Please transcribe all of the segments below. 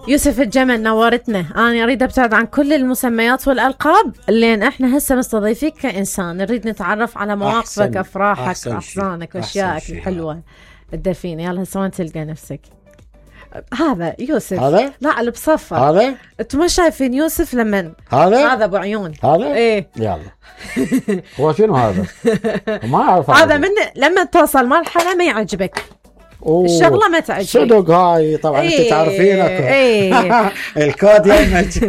يوسف الجمل نورتنا. أنا أريد أبتعد عن كل المسميات والألقاب لأن إحنا هسه مستضيفيك كإنسان، نريد نتعرف على مواقفك، أفراحك، أحزانك وأشيائك الحلوة الدفينة. يلا هسه وين تلقى نفسك؟ هذا يوسف، هذا لا اللي بصفر هذا. انتم ما شايفين يوسف لمن هذا ابو عيون هذا ايه يلا هو شنو هذا؟ ما اعرف هذا من لما توصل مرحله ما يعجبك الشغله ما تعجبك صدق. هاي طبعا انت تعرفينك ايه الكود يمك.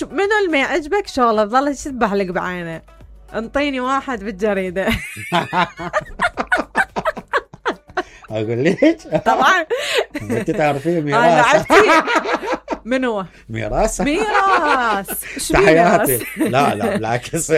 منو اللي ما يعجبك شغله تظل تشبح لك بعينه. انطيني واحد بالجريده. اقول لك طبعا انت تعرفين ميراث. من هو ميراث تحياتي. لا بالعكس.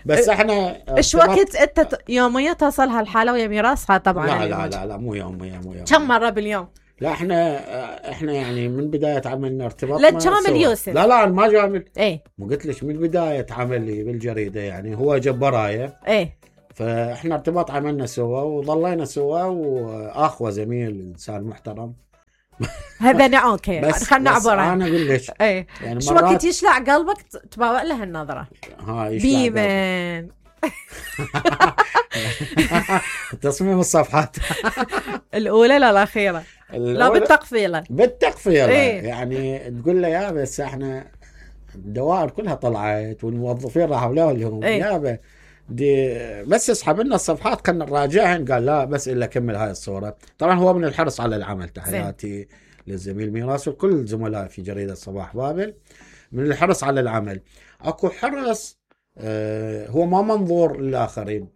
بس احنا ايش وقت انت يوميا توصل هالحاله ويا ميراثها؟ طبعا لا مو يوميا. كم مره باليوم؟ لا احنا يعني من بدايه عملنا ارتباط. لا تجامل يوسف. لا ما جامل. ايه مو قلت لك من بدايه عملي بالجريده يعني هو جاب برايه. ايه فاحنا ارتباط عملنا سوا وظلينا سوا، واخوه زميل انسان محترم. هذا اوكي يعني خلنا عبره. انا اقول لك ايه يعني شو وقت يشلع قلبك تباوع له النظره. بيمن تصميم الصفحات الاولى لا الاخيره؟ لا بالتقفيله إيه؟ يعني تقول له يا بس احنا الدوائر كلها طلعت والموظفين راحوا لهم إيه؟ يابا دي بس اسحب لنا الصفحات خلنا نراجعهن. قال لا بس الا كمل هاي الصوره. طبعا هو من الحرص على العمل. تحياتي للزميل ميراث وكل زملائي في جريده صباح بابل. من الحرص على العمل اكو حرص هو ما منظور للاخرين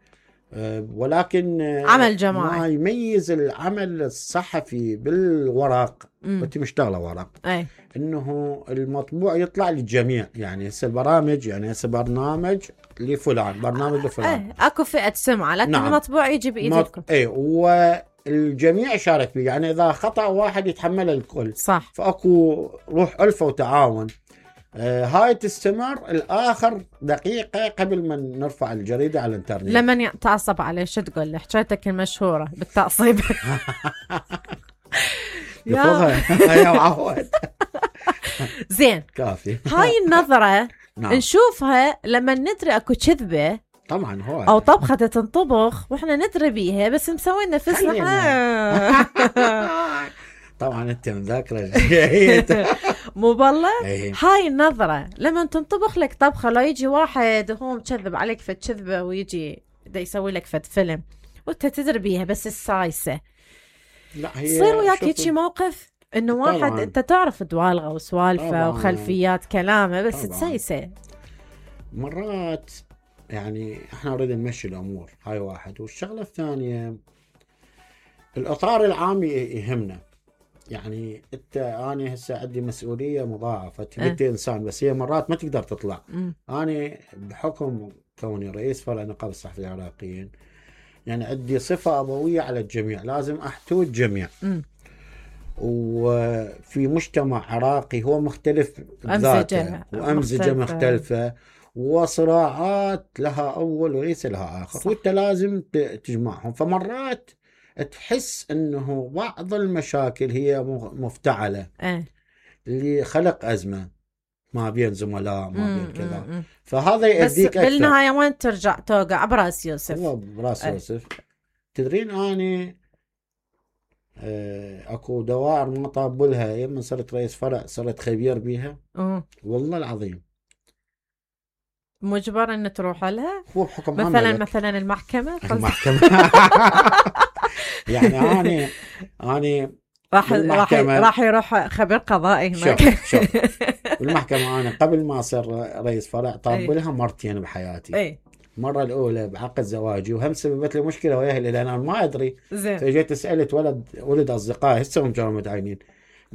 ولكن عمل جماعي. ما يميز العمل الصحفي بالورق. انت مشتغله ورق أي. انه المطبوع يطلع للجميع. يعني هسه البرامج يعني هسه برنامج لفلان برنامج لفلان اكو فئه سمعه لكن نعم. المطبوع يجي بايدكم. اي والجميع يشارك فيه. يعني اذا خطا واحد يتحمل الكل. صح. فاكو روح ألفة وتعاون. هاي تستمر الآخر دقيقة قبل ما نرفع الجريدة على الانترنت. لمن يتعصب عليه شو تقول له؟ حكايتك المشهورة بالتعصيب. يا معود. زين كافي. هاي النظرة نعم. نشوفها لما ندري اكو كذبة طبعا هو او طبخة تنطبخ واحنا ندري بيها بس مسوين نفسنا. طبعا انت مذاكره. مو بالله. هاي النظره لما تنطبخ لك طبخه لا يجي واحد هو مكذب عليك فد كذبه ويجي دا يسوي لك فد فيلم وانت تدري بيها بس السايسه. لا هي يصير وياك هيك موقف انه واحد انت تعرف دوالغه وسوالفه وخلفيات كلامه بس تسايسه. مرات يعني احنا نريد نمشي الامور. هاي واحد. والشغله الثانيه الاطار العام يهمنا. يعني أنا هسه عندي مسؤولية مضاعفة. أنت إنسان بس هي مرات ما تقدر تطلع. أنا بحكم كوني رئيس فرع نقابة الصحفيين العراقيين يعني عندي صفة أبوية على الجميع. لازم أحتوي الجميع. وفي مجتمع عراقي هو مختلف بذاته وأمزجة مختلفة وصراعات لها أول وليس لها آخر. وأنت لازم تجمعهم. فمرات تحس انه بعض المشاكل هي مفتعلة لخلق أزمة ما بين زملاء ما بين كذا. فهذا يؤديك أكثر. بالنهاية وين ترجع توقع براس يوسف. هو براس يوسف. تدرين أنا اكو دوائر ما طابلها يوم صرت رئيس فرع صرت خبير بيها. والله العظيم مجبر ان تروح لها. هو بحكم مثلا المحكمة. يعني أنا راح يروح خبير قضائي هناك. شوف بالمحكمة أنا قبل ما أصير رئيس فرع طابلها مرتين بحياتي. مرة الأولى بعقد زواجي وهم سببت لي مشكلة وياها لأن أنا ما أدري. فجيت سألت ولد أصدقائي هسه هم كانوا متعينين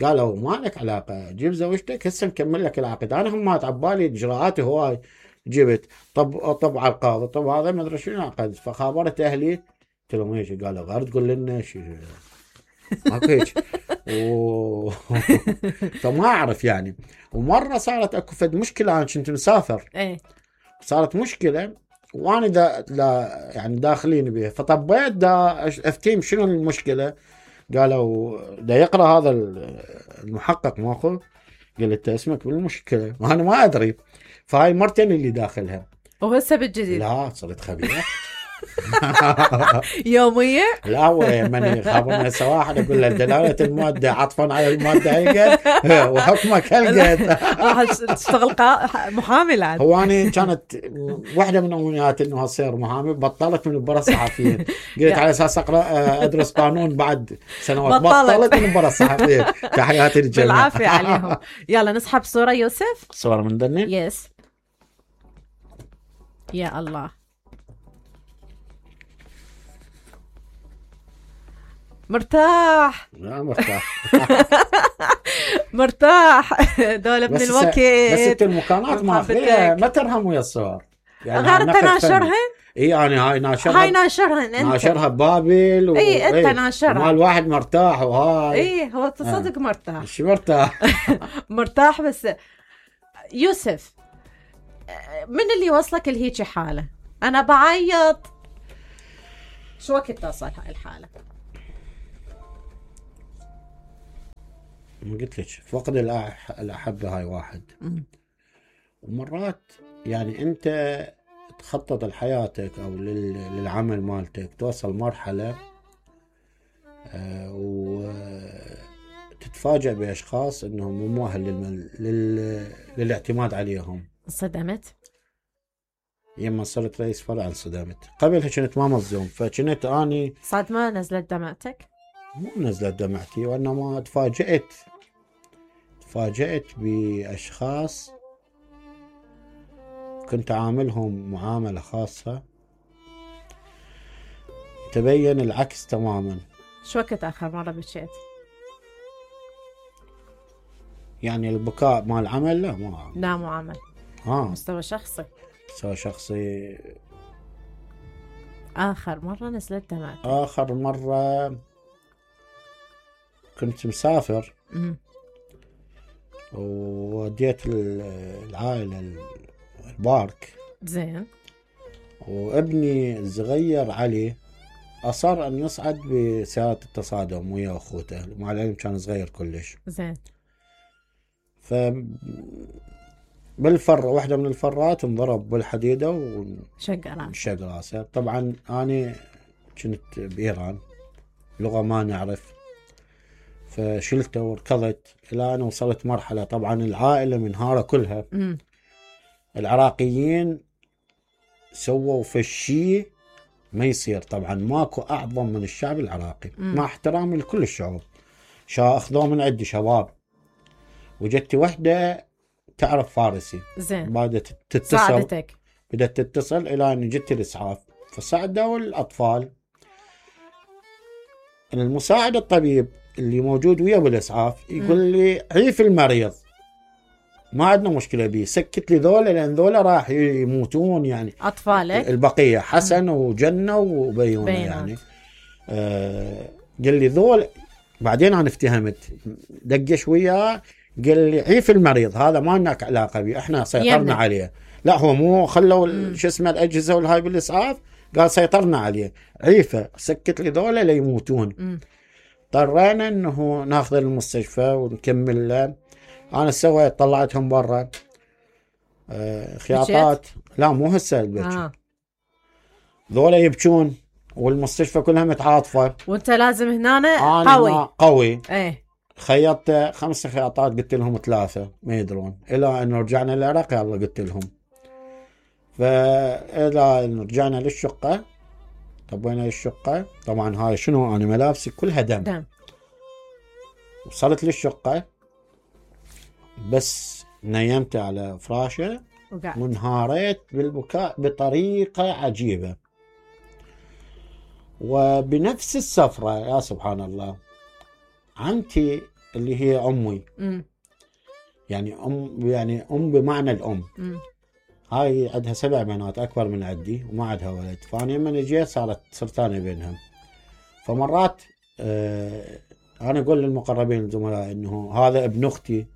قالوا ما لك علاقة جيب زوجتك هسه نكمل لك العقد. أنا هم عبالي إجراءاتي هواي جبت طب على القاضي طب هذا ما أدري شنو عقد. فخابرت أهلي قلت لهم ايش قالوا غير تقول لنا شيء ماكو هيك. فما أعرف يعني. ومرة صارت أكو فد مشكلة أنا كنت مسافر. صارت مشكلة وأنا يعني داخلين بها فطبيت أفتيم شنو المشكلة. قالوا دا يقرأ هذا المحقق ماخو، قلت اسمك بالمشكلة وأنا ما أدري. فهاي مرتين اللي داخلها. وهسه بالجديد لا صرت خبيرة يومية. لا هو من خابرنا سواحل أقول له دلالة المادة عطفا على المادة هيك وحكمك هلقت. راح تشتغل محامي العاد. هو أنا كانت واحدة من أمنياتي إنه أصير محامي، بطلت من البرا الصحفيين. قلت على أساس أقرأ أدرس قانون بعد سنوات، بطلت من البرا الصحفيين. تحياتي للجميع بالعافية عليهم. يلا نسحب صورة يوسف. صورة من دني. يس يا الله مرتاح. لا مرتاح مرتاح دولة من الوقت. بس انت المكانات ما فيها ما ترهم ويا الصور يعني. غير انت ناشرهن. اي يعني هاي ناشرهن انت. ناشرها ببابل اي انت ناشرها. مال واحد مرتاح وهاي. اي هو تصدق مرتاح. شو مرتاح مرتاح. بس يوسف من اللي وصلك لهيجي حالة؟ انا بعيط. شو وقت تصل هاي الحالة؟ ما قلت لك فقد الأحبة هاي واحد. ومرات يعني أنت تخطط لحياتك أو للعمل مالتك، توصل مرحلة وتتفاجأ بأشخاص أنهم مو مؤهل للاعتماد عليهم. صدمت؟ يما صرت رئيس فرع انصدمت. قبلها كنت ما مصدوم، فكنت أني صدمة نزلت دمعتك؟ مو نزلت دمعتي، وإنما تفاجأت بأشخاص كنت عاملهم معاملة خاصة، تبين العكس تماما. شو وقت آخر مرة بكيت؟ يعني البكاء مال العمل لا مو عمل. مستوى شخصي. آخر مرة نزلت دمعتك؟ آخر مرة كنت مسافر ووديت العائلة البارك. زين. وابني الصغير علي أصر أن يصعد بسيارة التصادم ويا أخوته، مع العلم كان صغير كلش. زين. واحدة من الفرات انضرب بالحديدة وشق راسه. طبعا أنا كنت بإيران، لغة ما نعرف، فشلته وركضت إلى أن وصلت مرحلة. طبعا العائلة منهارة كلها. العراقيين سووا فشي ما يصير. طبعا ماكو أعظم من الشعب العراقي مع احترامي لكل الشعوب. أخذوه من عندي شباب، وجدت وحدة تعرف فارسي. زين. بدأت تتصل إلى أن جدت الإسعاف، فساعدوا الأطفال. المساعد الطبيب اللي موجود ويا بالإسعاف يقول لي عيف المريض، ما عندنا مشكلة بيه، سكت لي ذولا لأن ذولا راح يموتون. يعني أطفالك البقية حسن وجنة وبيونة يعني. قال لي ذول. بعدين أنا افتهمت، دقش وياه قال لي عيف المريض، هذا ما لنا علاقة بيه، احنا سيطرنا عليه. لا هو مو خلوا شو اسمه الأجهزة والهاي بالإسعاف، قال سيطرنا عليه، عيفه سكت لي ذولا ليموتون. اضطرينا انه ناخذ المستشفى ونكمل له. انا سويت طلعتهم برا خياطات. لا مو هسه البكي. ذولا يبكون والمستشفى كلها متعاطفة، وانت لازم هنا قوي. ايه. خيطت 5 خياطات، قلت لهم 3 ما يدرون. الى ان رجعنا العراق يلا قلت لهم. فإذا رجعنا للشقة، طبينا للشقة. طبعا هاي شنو، أنا ملابسي كلها دم. وصلت للشقة بس نيمت على فراشة وانهاريت بالبكاء بطريقة عجيبة. وبنفس السفرة يا سبحان الله عمتي اللي هي أمي، يعني أم بمعنى الأم. هاي عندها 7 بنات أكبر من عندي وما عندها ولد. فأنا لما جيت صرت أنا بينهم. فمرات أنا أقول للمقربين الزملاء إنه هذا ابن أختي،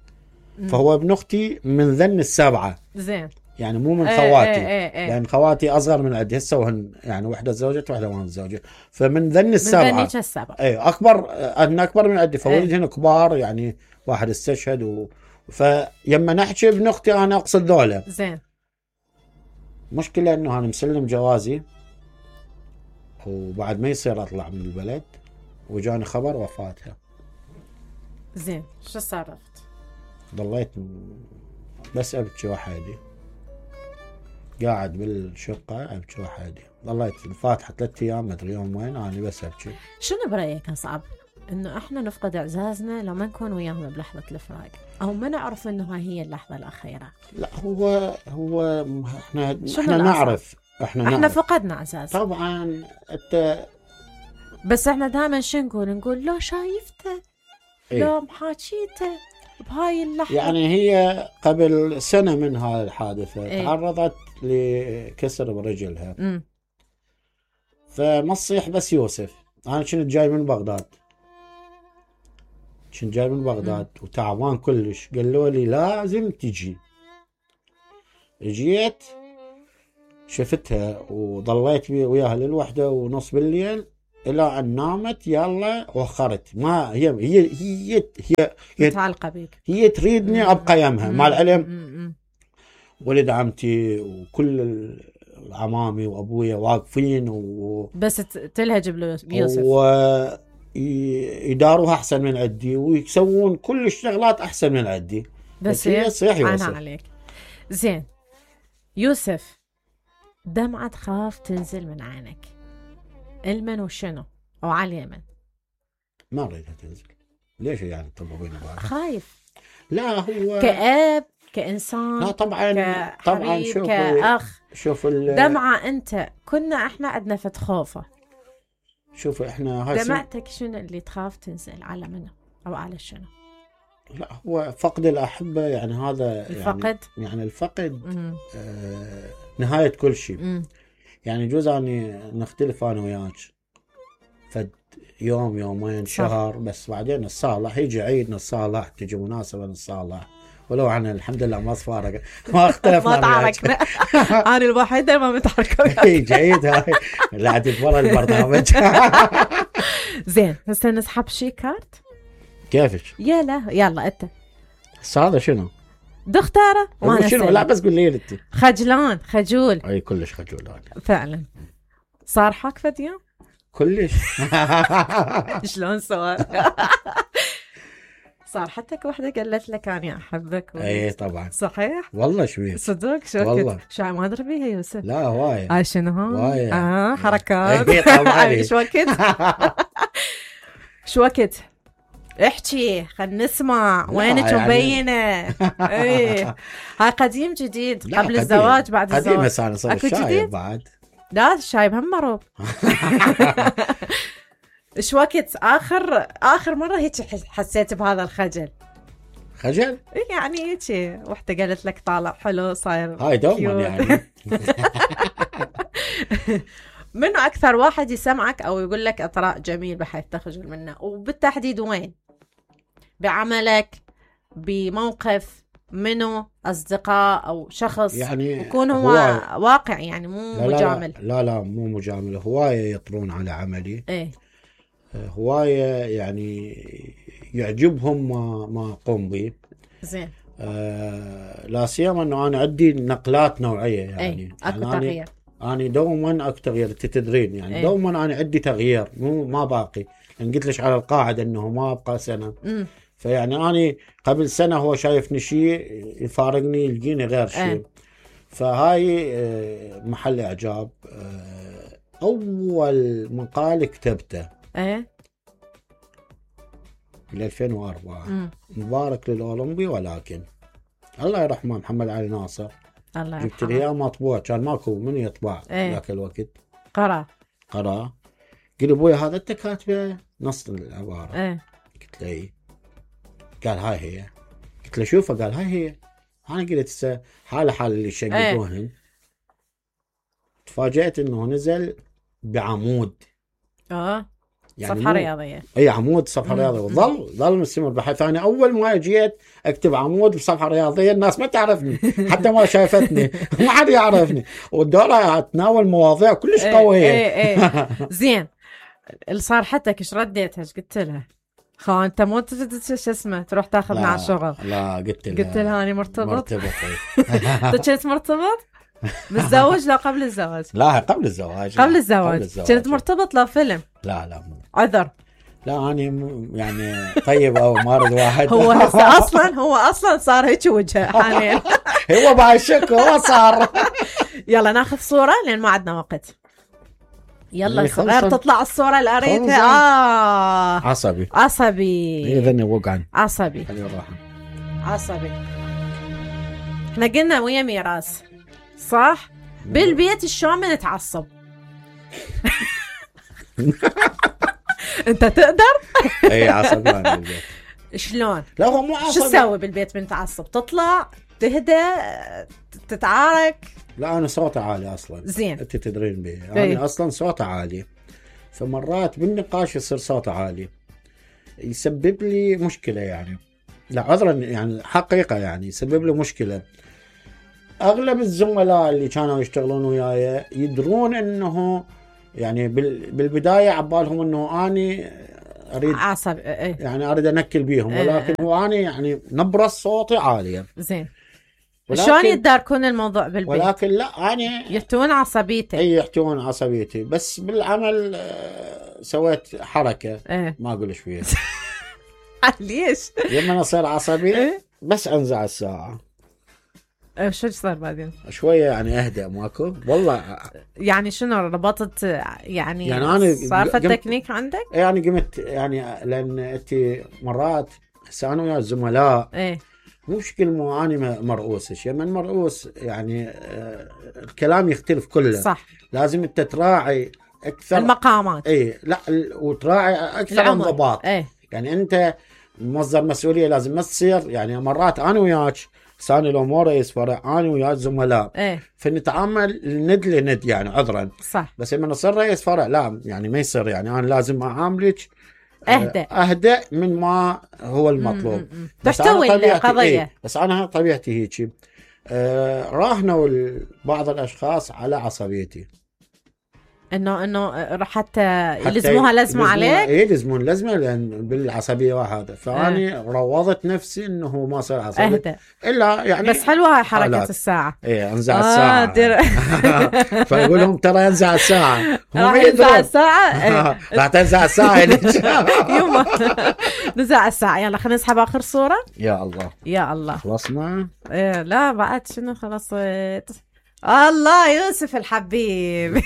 فهو ابن أختي من ذن 7. زين. يعني مو من خواتي. لان خواتي اصغر من عندي هسه وهن يعني وحده تزوجت وحده ما تزوجت، فمن ذن السبعه اكبر انا اكبر من عندي، فولدهن كبار يعني واحد استشهد فيما نحكي ابن اختي انا اقصد ذولا. زين. مشكله انه انا مسلم جوازي وبعد ما يصير اطلع من البلد وجاني خبر وفاتها. زين شو صرفت؟ ضليت بس ابكي وحدي، قاعد بالشقه ابكي وحدي، ضليت الفاتحه 3 ايام ما ادري يوم وين انا بس ابكي. شنو برايك اصعب؟ انه احنا نفقد اعزازنا لو ما نكون وياهم بلحظه الفراق، او ما نعرف انه هاي هي اللحظه الاخيره؟ لا هو احنا نعرف احنا فقدنا اعزاز طبعا. انت بس احنا دائما شو نقول لو شايفته لو محاكيته بهاي اللحظه. يعني هي قبل سنه من هاي الحادثه تعرضت لكسر برجلها. فما تصيح بس يوسف. انا كنت جاي من بغداد وتعبان كلش، قالوا لي لازم تجي. جيت شفتها وضليت وياها للوحدة ونص بالليل الى ان نامت. يلا وخرت. ما هي متعلقة بيك، هي تريدني ابقى يمها. مع العلم ولد عمتي وكل العمامي وابويا واقفين بس تلهج بيوسف يداروها احسن من عندي ويسوون كل الشغلات احسن من عندي، بس هي صحيح يوسف. انا عليك. زين يوسف، دمعة تخاف تنزل من عينك، المن وشنو او على اليمن؟ ما اريدها تنزل. ليش يعني تطبقين بعض؟ خايف. لا هو كأب كإنسان. لا طبعا شوف كأخ. شوف دمعة انت كنا احنا عندنا فت خوفه. شوف احنا دمعتك شنو اللي تخاف تنزل على منه او على شنو؟ لا هو فقد الأحبة يعني هذا الفقد يعني الفقد نهاية كل شيء. يعني جوز أني نختلف أنا وياك فد يوم يومين شهر، بس بعدين نتصالح، يجي عيد نتصالح، تجي مناسبة نتصالح، ولو عنا الحمد لله ما صفارق ما اختلفنا ما تعاركنا. أنا الوحيدة ما متحركة. جيد هاي لعدت برا البرنامج. زين هسه نسحب شي كارت. كيفك؟ يلا انت هذا شنو؟ دختاره وانا شنو؟ لا بس قول لي انت. خجلان خجول. اي كلش خجول انا فعلا. صار حق فد يوم؟ كلش. شلون صار؟ صار حتى وحده قالت لك انا احبك اي طبعا. صحيح والله شوي صدق. شو والله شو ما ادري بيها يوسف. لا هوايه. هاي شنو هاي؟ حركات. شو وقت؟ شو وقت؟ احكي خلنا نسمع وينك مبينه. ايه هاي قديم جديد قبل الزواج بعد الزواج؟ قديم بس انا صار شايب بعد. لا الشايب هم مروب. ايش وقت اخر مره هيك حسيت بهذا الخجل؟ خجل؟ يعني هيك وحده قالت لك طالع حلو صاير هاي دوما يعني. منو اكثر واحد يسمعك او يقول لك اطراء جميل بحيث تخجل منه؟ وبالتحديد وين؟ بعملك، بموقف، منو؟ اصدقاء او شخص يعني يكون هو واقع يعني مو مجامل. لا مو مجامل. هوايه يطرون على عملي. ايه هوايه يعني يعجبهم ما اقوم به. زين. لا سيما انه انا عندي نقلات نوعيه يعني. اكو تغيير. أنا دوما أكو تغيير. تدرين يعني دوما أنا عندي تغيير مو ما باقي. يعني قلت لك على القاعدة إنه ما أبقى سنة. فيعني أنا قبل سنة هو شايفني شيء يفارقني يلقيني غير شيء. فهاي محل إعجاب. أول مقال كتبته ل 2004 مبارك للأولمبي، ولكن الله يرحمه محمد علي ناصر جبت لي اياه مطبوع، كان ماكو من يطبع ذاك الوقت. قرأ قال ابويا هذا انت كاتبه نص العباره. قلت له قال هاي هي. قلت له شوفه. قال هاي هي. انا قلت حال اللي يشققوهن. تفاجأت انه نزل بعمود. يعني صفحة رياضية. اي عمود صفحة رياضية، وظل مستمر بحيث انا اول ما جيت اكتب عمود بصفحة رياضية الناس ما تعرفني حتى ما شايفتني ما حد يعرفني، والدورة اتناول مواضيع كلش قوية. زين صار حتى ايش رديتها؟ ايش قلت لها؟ انت مو شو اسمه تروح تاخذنا على الشغل؟ لا قلت لها اني مرتبط. انت كنت مرتبط؟ متزوج؟ لا قبل الزواج. لا قبل الزواج. كنت مرتبط؟ لا فيلم. لا عذر. لا أنا يعني طيب أو مارد واحد. هو أصلا صار هيك وجهه حاليا. هو بعشق هو صار. يلا ناخذ صورة لأن ما عندنا وقت. يلا غير تطلع الصورة اللي قريتها. عصبي. إذن وقعن. عصبي. احنا قلنا ويا ميراث صح؟ بالبيت شلون بنتعصب؟ انت تقدر؟ اي عصبي بالبيت. شلون؟ لا هو مو عصبي. شو تسوي بالبيت بنتعصب؟ تطلع تهدى تتعارك؟ لا انا صوتي عالي اصلا. زين. انت تدرين به انا اصلا صوتي عالي، فمرات بالنقاش يصير صوتي عالي يسبب لي مشكلة يعني. لا عذرا يعني حقيقة يعني يسبب لي مشكلة. اغلب الزملاء اللي كانوا يشتغلون وياي يدرون انه يعني بالبداية عبالهم انه اني اريد عصب يعني اريد انكل بيهم، ولكن هو اني يعني نبرة صوتي عالية. زين. شلون يتداركون الموضوع بالبيت؟ ولكن لا اني يحتون عصبيتي. اي يحتون عصبيتي، بس بالعمل سويت حركة ما اقول ايش فيها. ليش؟ لما اصير عصبي بس انزع الساعة. شو صار بعدين؟ شوية يعني اهدأ ماكو والله. يعني شنو ربطت يعني أنا صار في التكنيك عندك؟ يعني قمت يعني لأن أنت مرات هسه أنا ويا الزملاء مو مشكلة مو أنا مرؤوسش، يعني مرؤوس يعني الكلام يختلف كله. صح. لازم أنت تراعي أكثر المقامات. لا وتراعي أكثر انضباط. يعني أنت مصدر مسؤولية لازم ما تصير يعني مرات أنا وياك ثاني لو مو رئيس فرع انا ويا الزملاء فنتعامل ند لند يعني عذرا. صح. بس لما نصير رئيس فرع لا يعني ما يصير، يعني انا لازم اعاملك اهدأ من ما هو المطلوب. تحتوي القضية. بس انا طبيعتي هيك. راهنوا بعض الاشخاص على عصبيتي انه حتى يلزموها لزمه عليك. يلزمون لزمه لان بالعصبيه وهذا، فاني روضت نفسي انه ما صار عصبي اهدى. الا يعني بس حلوه هاي حركه الساعه. انزع الساعه. فيقول لهم ترى انزع الساعه. راح ينزع الساعه. راح تنزع الساعه. يوم نزع الساعه. يلا خلينا نسحب اخر صوره. يا الله خلصنا. لا بعد شنو خلصت. الله يوسف الحبيب.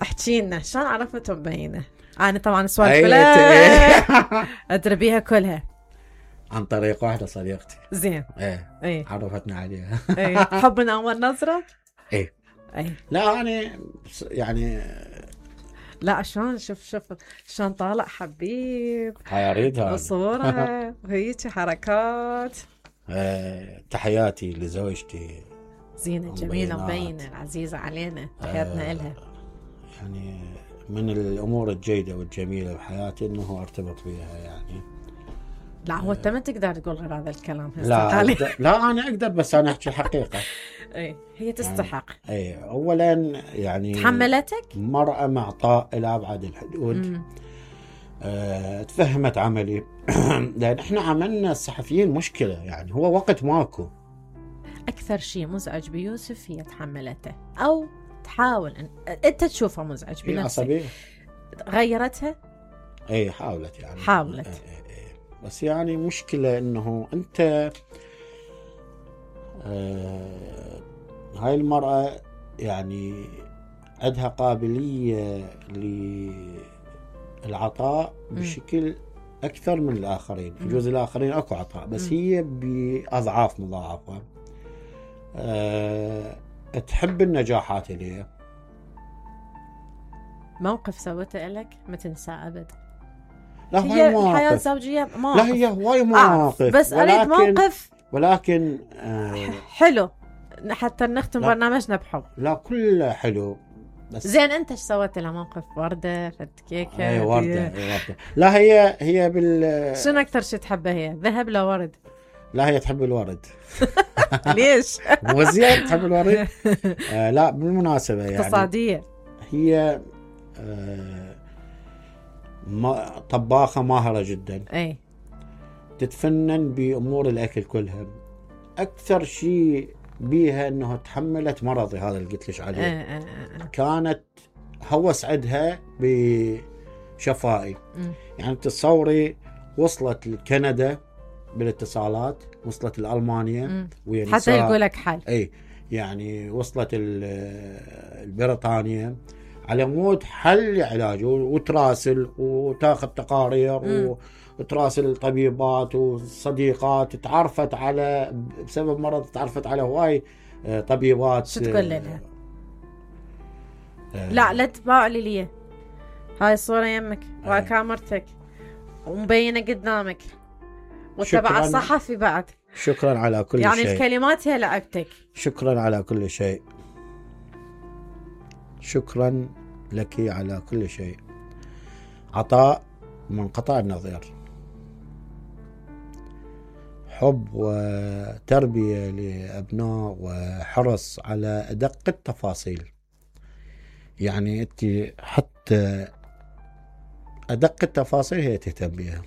احكي لنا شلون عرفتوا مبينه؟ انا طبعا السوالف كلها ادري بيها كلها عن طريق واحده صديقتي. زين. عرفتنا عليها. حب من اول نظره. لا انا يعني لا شلون شوف شلون طالع حبيب. هاي اريدها صوره وهيك حركات. تحياتي لزوجتي زينة جميلة مبينة العزيزة علينا. تحياتنا إلها. يعني من الأمور الجيدة والجميلة بحياتي إنه ارتبط بها يعني. لا هو أنت ما تقدر تقول غير هذا الكلام. لا أنا أقدر بس أنا أحكي الحقيقة. هي تستحق. أولا يعني تحملتك مرأة معطاء إلى أبعد الحدود. تفهمت عملي. لأن إحنا عملنا الصحفيين مشكلة يعني هو وقت ماكو. أكثر شيء مزعج بيوسف هي تحملته أو تحاول أنت تشوفه مزعج بنفسك. غيرتها؟ حاولت يعني. حاولت. بس يعني مشكلة إنه أنت هاي المرأة يعني عندها قابلية للعطاء بشكل أكثر من الآخرين. يجوز الآخرين أكو عطاء بس هي بأضعاف مضاعفة. تحب النجاحات اللي موقف سوته لك ما تنسى أبد. لا هي الحياة الزوجية مواقف. لا هي هواي مواقف بس أريد موقف ولكن حلو حتى نختم برنامجنا بحب. لا كله حلو بس. زين انت ايش سويت لها موقف؟ وردة فد كيكة؟ اي وردة. لا هي شنو اكثر شيء تحبه هي؟ ذهب لا ورد؟ لا هي تحب الورد. ليش؟ مو زين تحب الورد؟ لا بالمناسبة يعني اقتصادية. هي طباخة ماهرة جدا. اي تتفنن بأمور الأكل كلها. أكثر شيء بيها أنه تحملت مرضي هذا اللي قلت لك عليه. كانت هوس عندها بشفائي. يعني تصوري وصلت لكندا بالاتصالات، وصلت لألمانيا حتى يقول لك حل. أي يعني وصلت البريطانيا على مود حل علاج، وتراسل وتاخذ تقارير وتراسل طبيبات وصديقات. تعرفت على بسبب مرض، تعرفت على هواي طبيبات. شو تقول لها؟ لا تباع لي هاي الصورة يمك وكاميرتك ومبينة قدامك وتبع الصحفي بعد. شكرا على كل يعني شيء. يعني الكلمات هي لعبتك. شكرا على كل شيء. شكرا لك على كل شيء. عطاء منقطع النظير، حب وتربية لأبناء وحرص على أدق التفاصيل. يعني أنت حتى أدق التفاصيل هي تهتم بها.